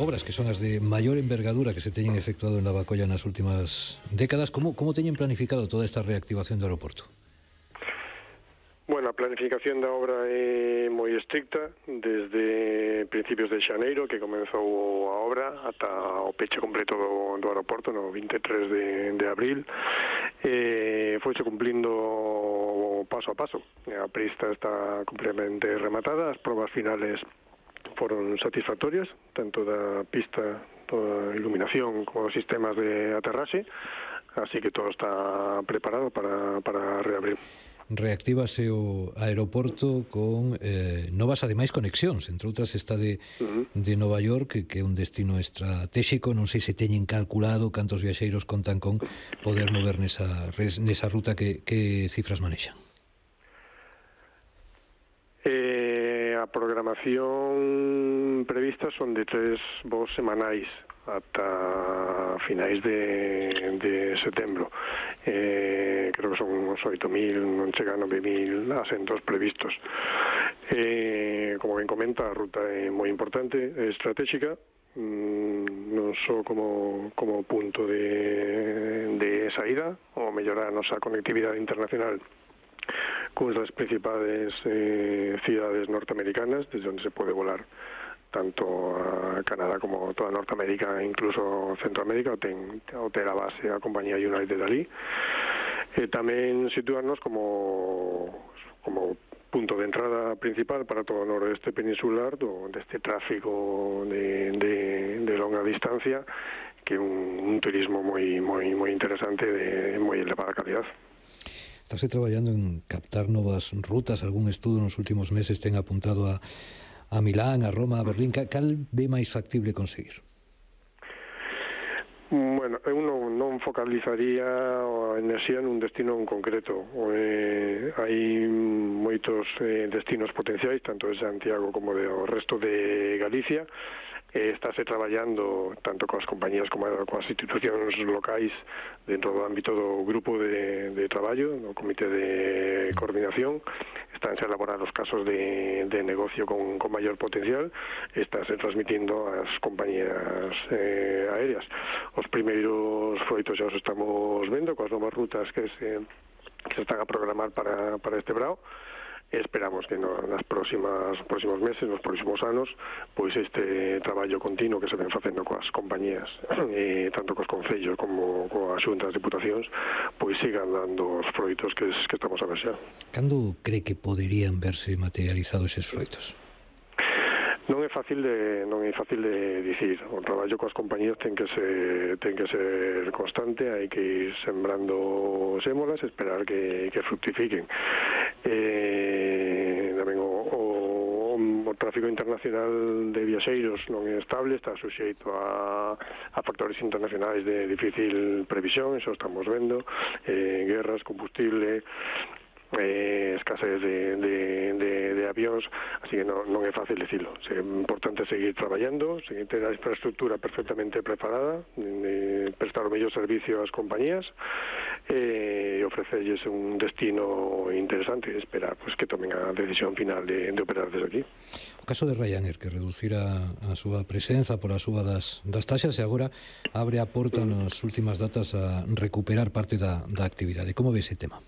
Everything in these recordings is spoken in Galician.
obras que son as de maior envergadura que se teñen efectuado en Lavacolla nas últimas décadas. Como teñen planificado toda esta reactivación do aeroporto? Bueno, a planificación da obra é moi estricta desde principios de xaneiro que comenzou a obra ata o peche completo do aeroporto no 23 de abril. Foise cumplindo paso a paso. A pista está completamente rematada, as probas finales foron satisfactorias, tanto da pista, toda a iluminación como os sistemas de aterraxe, así que todo está preparado para reabrir. Reactívase o aeroporto con novas, ademais, conexións. Entre outras está de Nova York, que é un destino estratégico. Non sei se teñen calculado cantos viaxeiros contan con poder mover nesa ruta. Que cifras manexan? A programación prevista son de 3 voos semanais ata finais de setembro. Creo que son uns 8.000, non chegan a 9.000 asentos previstos. Como ben comenta, a ruta é moi importante, é estratégica, non só como punto de saída, ou mellorar a nosa conectividade internacional con as principales cidades norteamericanas, desde onde se pode volar tanto a Canadá como toda Norteamérica, incluso Centroamérica, o ter a base a compañía United ali. Tamén situarnos como punto de entrada principal para todo o noroeste peninsular deste tráfico de longa distancia, que é un turismo moi interesante de moi elevada calidad. Estás traballando en captar novas rutas. Algún estudo nos últimos meses ten apuntado a Milán, a Roma, a Berlín. Cal ve máis factible conseguir? Bueno, eu non focalizaría a enerxía nun destino en concreto. Hai moitos destinos potenciais, tanto de Santiago como do resto de Galicia. Estáse traballando tanto coas compañías como coas institucións locais dentro do ámbito do grupo de traballo, no comité de coordinación. Estánse a elaborar os casos de negocio con maior potencial, estánse transmitindo ás compañías aéreas. Os primeiros froitos xa os estamos vendo coas novas rutas que se están a programar para este brao. Esperamos que nos próximos meses, nos próximos anos, pois este traballo continuo que se ven facendo coas compañías, tanto cos concellos como coas xuntas de diputacións, pois sigan dando os froitos que estamos a ver xa. Cando cree que poderían verse materializados eses froitos? Non é fácil de dicir. O traballo coas compañías ten que ser constante, hai que ir sembrando sémolas, esperar que fructifiquen. Tamén o tráfico internacional de viaxeiros non é estable, está suxeito a factores internacionais de difícil previsión, eso estamos vendo, guerras, combustible, escasez de avións, así que non é fácil dicilo. É importante seguir traballando, seguir ter a infraestructura perfectamente preparada, prestar o mellor servicio ás compañías e ofrecerles un destino interesante e esperar que tomen a decisión final de operar desde aquí. O caso de Ryanair, que reducira a súa presenza por a súa das taxas e agora abre a porta nas últimas datas a recuperar parte da actividade. Como ve ese tema?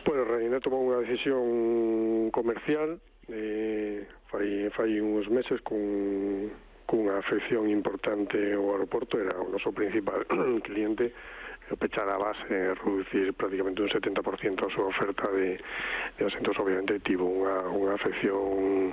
Bueno, Ryanair tomou unha decisión comercial fai uns meses cunha afección importante ao aeroporto. Era o noso principal cliente. Pechar a base, reducir prácticamente un 70% a súa oferta de asentos. Obviamente tivo unha afección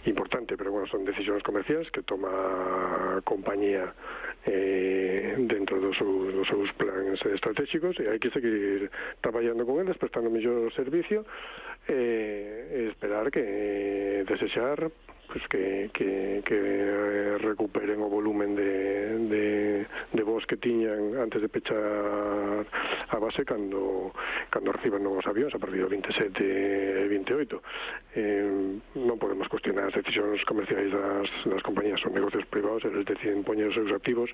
importante, pero bueno, son decisións comerciais que toma a compañía dentro dos seus plans estratégicos, e hai que seguir traballando con eles, prestando mellor servicio e esperar que desexar que recuperen o volumen de voos que tiñan antes de pechar a base cando reciban novos avións a partir do 27 e 28. Non podemos cuestionar as decisións comerciais das compañías, son negocios privados, eles deciden poñer os seus activos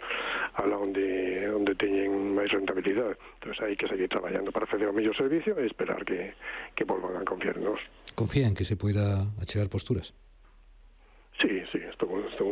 ala onde teñen máis rentabilidade. Entón hai que seguir traballando para facer o mellor servicio e esperar que volvan a confiar en nós. Confía en que se poida achegar posturas? Sí, estou